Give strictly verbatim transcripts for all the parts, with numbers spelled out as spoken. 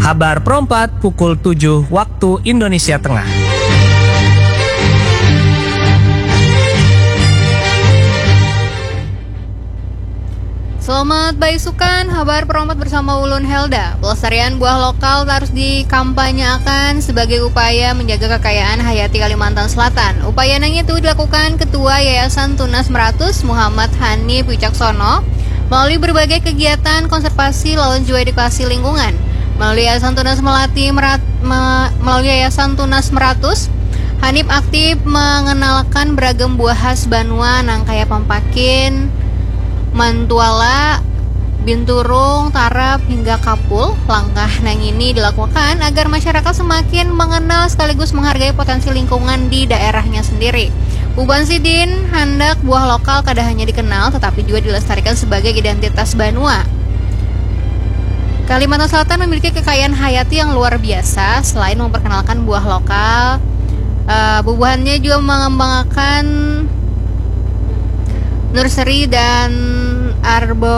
Habar Perompat pukul tujuh waktu Indonesia Tengah. Selamat baisukan, Habar Perompat bersama ulun Helda. Pelestarian buah lokal harus dikampanyeakan sebagai upaya menjaga kekayaan hayati Kalimantan Selatan. Upaya nang itu dilakukan Ketua Yayasan Tunas Meratus, Muhammad Hanif Wicaksono, melalui berbagai kegiatan konservasi lawan jua edukasi lingkungan. Melalui Yayasan Tunas Melati Merat-, me-, melalui Yayasan Tunas Meratus, Hanif aktif mengenalkan beragam buah khas banua nang kaya pampakin, mantuala, binturung, tarap, hingga kapul. Langkah nang ini dilakukan agar masyarakat semakin mengenal sekaligus menghargai potensi lingkungan di daerahnya sendiri. Uban sidin, handak buah lokal kada hanya dikenal tetapi juga dilestarikan sebagai identitas banua. Kalimantan Selatan memiliki kekayaan hayati yang luar biasa. Selain memperkenalkan buah lokal, eh, bubuhannya juga mengembangkan nursery dan arboretum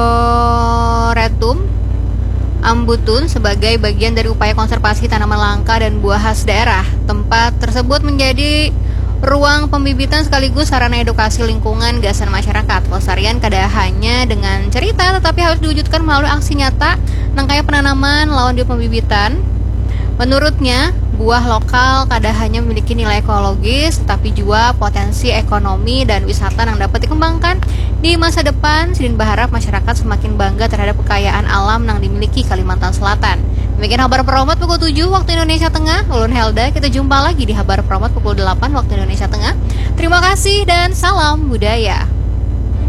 Ambutun sebagai bagian dari upaya konservasi tanaman langka dan buah khas daerah. Tempat tersebut menjadi ruang pembibitan sekaligus sarana edukasi lingkungan gasan masyarakat. Pelestarian kada hanya dengan cerita, tetapi harus diwujudkan melalui aksi nyata, nang kaya penanaman lawan di pembibitan. Menurutnya, buah lokal kada hanya memiliki nilai ekologis, tetapi juga potensi ekonomi dan wisata yang dapat dikembangkan di masa depan. Sidin berharap masyarakat semakin bangga terhadap kekayaan alam yang dimiliki Kalimantan Selatan. Demikian Habar Perompat pukul tujuh waktu Indonesia Tengah. Ulun Helda, kita jumpa lagi di Habar Perompat pukul delapan waktu Indonesia Tengah. Terima kasih dan salam budaya.